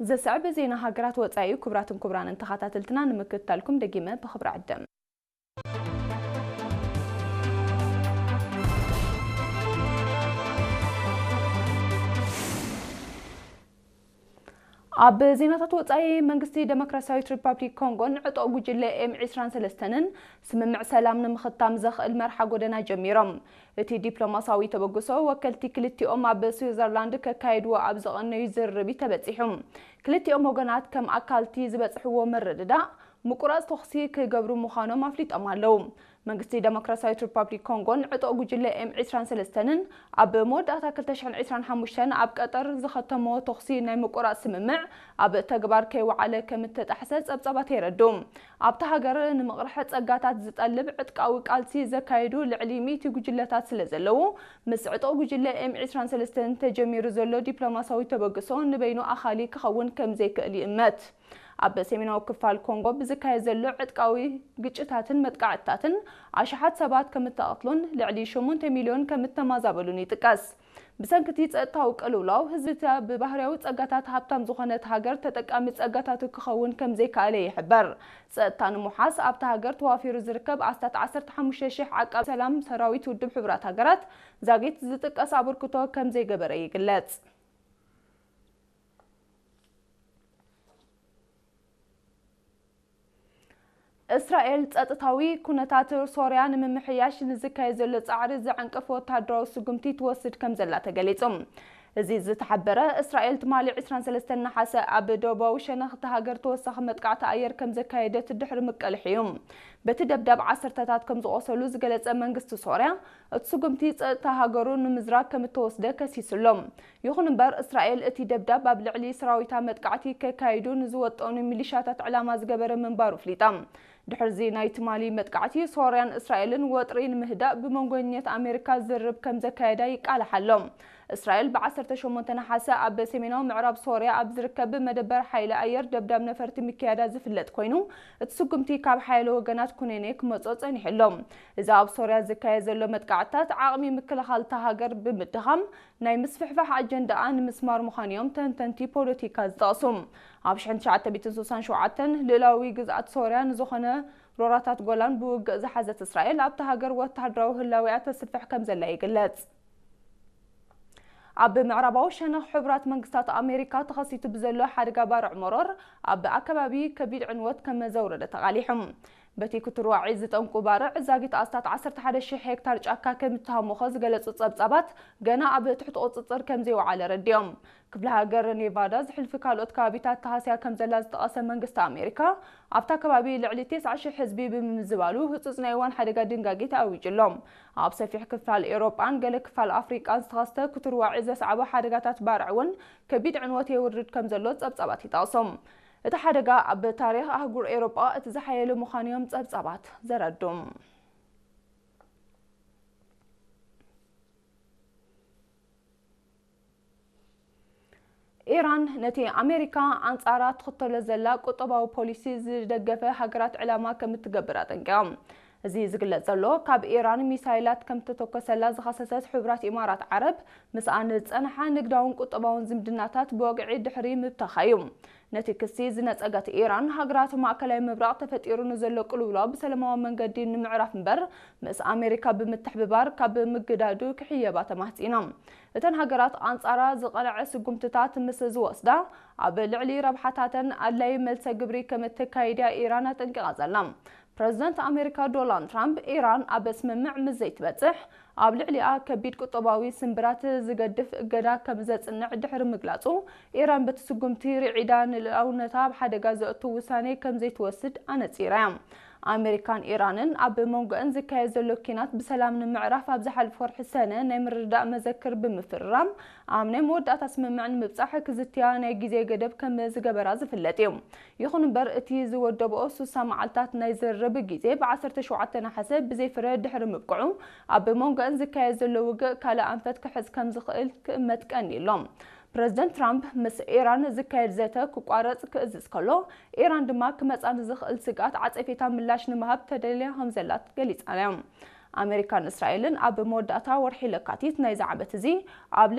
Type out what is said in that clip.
ዘስዕብ ዜና ሃገራት ወጻኢ እዩ። ክቡራትን ክቡራንን ተኸታተልትና፣ ንምክትታልኩም ደጊመ ብኽብሪ ዕድም። ኣብ ዜናታት ወጻኢ፣ መንግስቲ ደሞክራሲያዊት ሪፓብሊክ ኮንጎን ዕጡቕ ጉጅለ ኤም ዕስራን ሰለስተን ስምምዕ ሰላም ንምኽታም ዘኽእል መርሓ ጎደና ጀሚሮም። እቲ ዲፕሎማሲያዊ ተበግሶ፣ ወከልቲ ክልቲኦም ኣብ ስዊዘርላንድ ከካይድዎ ኣብ ዝቐነዩ ዝርርብ እዩ ተበጺሑ። ክልቲኦም ወገናት ከም ኣካልቲ ዝበጽሕዎ ምርድዳእ፣ ምቁራጽ ተኹሲ ክገብሩ ምዃኖም ኣፍሊጦም ኣለዉ። መንግስቲ ደሞክራሲያዊት ሪፓብሊክ ኮንጎን ዕጡቕ ጉጅለ ኤም ዕስራን ሰለስተን ኣብ መወዳእታ ክልተ ሽሕን ዕስራን ሓሙሽተን ኣብ ቀጠር ዝኸተሞ ተኹሲ ናይ ምቁራጽ ስምምዕ ኣብ ተግባር ከይወዓለ ከም እተጣሕሰ ጸብጻባት የረድኡ። ኣብታ ሃገር ንምቕራሕ ጸጋታት ዝጠልብ ዕጥቃዊ ቃልሲ ዘካየዱ ልዕሊ ሚእቲ ጉጅለታት ስለ ዘለዉ፣ ምስ ዕጡቕ ጉጅለ ኤም ዕስራን ሰለስተን ተጀሚሩ ዘሎ ዲፕሎማሲያዊ ተበግሶ ንበይኑ ኣኻሊ ክኸውን ከም ዘይክእል ይእመት። ኣብ ሰሜናዊ ክፋል ኮንጎ ብዝካየድ ዘሎ ዕጥቃዊ ግጭታትን መጥቃዕትታትን፣ ኣሽሓት ሰባት ከም እተቐትሉን ልዕሊ ሸሞንተ ሚልዮን ከም እተማዛበሉን ይጥቀስ። ብሰንኪ እቲ ጸጥታዊ ቅልውላው፣ ህዝቢ እታ ብባህርያዊ ጸጋታት ሃብታም ዝኾነት ሃገር ተጠቃሚ ጸጋታቱ ክኸውን ከም ዘይከኣለ ይሕበር። ጸጥታ ንምውሓስ፣ ኣብታ ሃገር ተዋፊሩ ዝርከብ ኣስታት ዓሰርተ ሓሙሽተ ሽሕ ዓቃብ ሰላም ሰራዊት ውድብ ሕቡራት ሃገራት ዛጊት ዝጥቀስ ኣበርክቶ ከም ዘይገበረ ይግለጽ። እስራኤል ጸጥታዊ ኩነታት ሶርያ ንምምሕያሽ ንዝካየድ ዘሎ ጻዕሪ ዝዕንቅፍ ወተሃደራዊ ስጉምቲ ትወስድ ከም ዘላ ተገሊጹ። እዚ ዝተሓበረ፣ እስራኤል ትማሊ ዕስራን ሰለስተን ነሓሰ ኣብ ደቡባዊ ሸነኽ እታ ሃገር ተወሳኺ መጥቃዕቲ ኣየር ከም ዘካየደት ድሕሪ ምቅልሕ እዩ። በቲ ደብዳብ ዓሰርተታት ከም ዝቖሰሉ ዝገለጸ መንግስቲ ሶርያ፣ እቲ ስጉምቲ ጸጥታ ሃገሩ ንምዝራግ ከም እተወስደ ከሲሱ ኣሎ። ይኹን እምበር፣ እስራኤል እቲ ደብዳብ ኣብ ልዕሊ ሰራዊታ መጥቃዕቲ ከካይዱ ንዝወጠኑ ሚሊሻታት ዕላማ ዝገበረ ምንባሩ ኣፍሊጣ። ድሕሪዚ ናይ ትማሊ መጥቃዕቲ፣ ሶርያን እስራኤልን ወጥሪ ንምህዳእ ብመንጎኛታት ኣሜሪካ ዝርርብ ከም ዘካየዳ ይቃላሕ ኣሎ። እስራኤል ብ ዓሰርተ ሸሞንተ ነሓሰ ኣብ ሰሜናዊ ምዕራብ ሶርያ ኣብ ዝርከብ መደበር ሓይሊ ኣየር ደብዳብ ነፈርቲ ምክያዳ ዝፍለጥ ኮይኑ፣ እቲ ስጉምቲ ካብ ሓያሎ ወገናት ኩነኔ ክመጾ ጸኒሑ ኣሎ። እዚ ኣብ ሶርያ ዝካየድ ዘሎ መጥቃዕትታት፣ ዓቕሚ ምክልኻል እታ ሃገር ብምድኻም፣ ናይ ምስፍሕፋሕ ኣጀንዳኣ ንምስማር ምዃኑ እዮም ተንተንቲ ፖለቲካ ዝጠቕሱ። ኣብ ሽሕን ትሽዓተ ሚእትን ስሳን ሸውዓተን ልኡላዊ ግዝኣት ሶርያ ንዝኾነ ሮራታት ጎላን ብውግእ ዝሓዘት እስራኤል፣ ኣብታ ሃገር ወተሃደራዊ ህላዌኣ ተስፍሕ ከም ዘላ ይግለጽ። ኣብ ምዕራባዊ ሸነኽ ሕቡራት መንግስታት ኣሜሪካ ተኸሲቱ ብዘሎ ሓደጋ ባርዕ መሮር፣ ኣብ ኣከባቢ ከቢድ ዕንወት ከም ዘውረደ ተቓሊሑ። በቲ ክትርዋዒ ዝጠንቁ ባርዕ ዛጊት ኣስታት ዓሰርተ ሓደ ሽሕ ሄክታር ጫካ ከም እተሃሞኸ ዝገለጹ ጸብጻባት፣ ገና ኣብ ትሕቲ ቁጽጽር ከም ዘይወዓለ ረዲኦም። ክፍለ ሃገር ኔቫዳ ዝሕልፊ ካልኦት ከባቢታት ተሃስያ ከም ዘላ ዝጠቐሰ መንግስቲ ኣሜሪካ፣ ኣብታ ከባቢ ልዕሊ ተስዓ ሽሕ ህዝቢ ብምምዝባሉ ህጹጽ ናይ እዋን ሓደጋ ድንጋጌ ተኣዊጁ ኣሎ። ኣብ ሰፊሕ ክፋል ኤውሮጳን ገለ ክፋል ኣፍሪቃን ዝተኸስተ ክትርዋዒ ዘስዓቦ ሓደጋታት ባርዕ እውን ከቢድ ዕንወት የውርድ ከም ዘሎ ጸብጻባት ይጠቕሱ። እቲ ሓደጋ ኣብ ታሪኽ ኣህጉር ኤውሮጳ እቲ ዝሓየለ ምዃኑ እዮም ጸብጻባት ዘረድኡ። ኢራን ነቲ ኣሜሪካ ኣንጻራ ትኽተሎ ዘላ ቁጠባዊ ፖሊሲ ዝደገፈ ሃገራት ዕላማ ከም እትገብር ኣጠንቂቖም። እዚ ዝግለጽ ዘሎ፣ ካብ ኢራን ሚሳይላት ከም እተተኮሰላ ዝኸሰሰት ሕቡራት ኢማራት ዓረብ፣ ምስኣን ዝጸንሓ ንግዳውን ቁጠባውን ዝምድናታት ብወግዒ ድሕሪ ምብታኻ እዩ። ነቲ ክሲ ዝነጸገት ኢራን፣ ሃገራት ማእከላይ ምብራቕ ተፈጢሩ ንዘሎ ቅልውላው ብሰላማዊ መንገዲ ንምዕራፍ እምበር፣ ምስ ኣሜሪካ ብምትሕብባር ካብ ምግዳዱ ክሕየባ ተማህጺና። እተን ሃገራት ኣንጻራ ዝቐንዐ ስጉምትታት ምስ ዝወስዳ፣ ኣብ ልዕሊ ረብሓታተን ኣድላዪ መልሰ ግብሪ ከም እተካይድ እያ ኢራን ኣጠንቂቓ ዘላ። ፕረዚደንት ኣሜሪካ ዶናልድ ትራምፕ፣ ኢራን ኣብ ስምምዕ ምስ ዘይትበጽሕ፣ ኣብ ልዕሊኣ ከቢድ ቁጠባዊ ስምብራት ዝገድፍ እገዳ ከም ዘጽንዕ ድሕሪ ምግላጹ፣ ኢራን በቲ ስጉምቲ ርዒዳ ንልኡላውነታ ኣብ ሓደጋ ዘእቱ ውሳኔ ከም ዘይትወስድ ኣነጺራ እያ። ኣሜሪካን ኢራንን ኣብ መንጎአን ዝካየድ ዘሎ ኲናት ብሰላም ንምዕራፍ ኣብ ዝሓለፈ ወርሒ ሰነ ናይ ምርድዳእ መዘክር ብምፍርራም፣ ኣብ ናይ መወዳእታ ስምምዕ ንምብጻሕ ክዝትያ ናይ ግዜ ገደብ ከም ዝገበራ ዝፍለጥ እዩ። ይኹን እምበር፣ እቲ ዝወደብኦ ስሳ መዓልታት ናይ ዝርርብ ግዜ ብ ዓሰርተ ሸውዓተ ነሓሰ ብዘይ ፍረ ድሕሪ ምብቅዑ፣ ኣብ መንጎአን ዝካየድ ዘሎ ውግእ ካልእ ኣንፈት ክሕዝ ከም ዝኽእል ክእመት ቀንዩ ኣሎ። ፕረዚደንት ትራምፕ ምስ ኢራን ዝካየድ ዘተ ክቋረጽ ክእዝዝ ከሎ፣ ኢራን ድማ ክመጻ ንዝኽእል ስግኣት ዓጸፌታ ምላሽ ንምሃብ ተደልያ ከም ዘላ ገሊጻ እያ። ኣሜሪካን እስራኤልን ኣብ መወዳእታ ወርሒ ለካቲት ናይዚ ዓመት እዚ ኣብ